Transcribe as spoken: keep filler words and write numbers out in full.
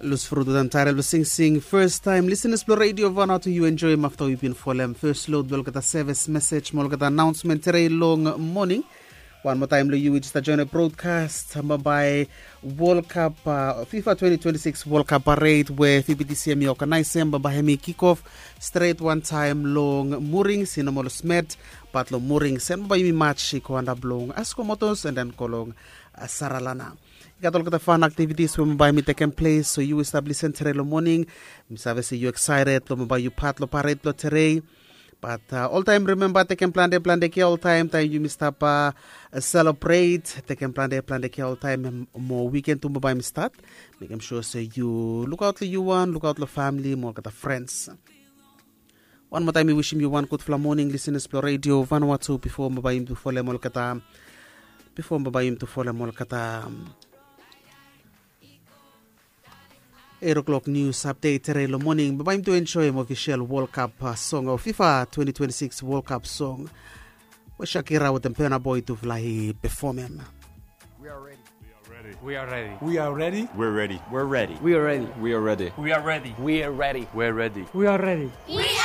Lus frut wetem taerel blong singsing first time listeners blong radio vanatu yu enjoim afta yu bin folem first load blong olgeta sevis mesej mo olgeta announcement terei long moning. Wan moa taim long yu wi jista join a broadcast bambae World Cup uh, fifa twenty twenty-six World Cup parade we fbtc em i organizem bambae em i kick off straight one time long muring sinomol smet. Bat long muring sen bambae yumi match i go anda blong askomotos and then go long uh, saralana. I gat olgeta fan activities we bambae mi tekem ples so yu we stap lisen terei long moning. Mi save se yu excited long bambae yu pat long parade blong terei. Bat uh, oltaim rememba tekem plante plante kia oltaim taim yumi stap uh, celebrate tekem plante plante kia oltaim mo weekend tu bambae mi stat. Mekem sure se yu lukaut long yu wan lukaut long famili mo olgeta friends. Wan moa taim mi wisim yu wan gudfala moning lisenas blong redio vanua tu bifo bambae yumi tu folem olgeta bifo bambae yumi tu folem olgeta eight o'clock news update terei long moning bambae yumi tu enjoim ofisel World Cup uh, song o fifa twenty twenty-six World Cup song we Shakira wetem Burna Boy tufala i pefomem. We are ready. We are ready. We are ready. We are ready. We are ready. We are ready. We are ready. We are ready. We are ready. We are ready. We are ready.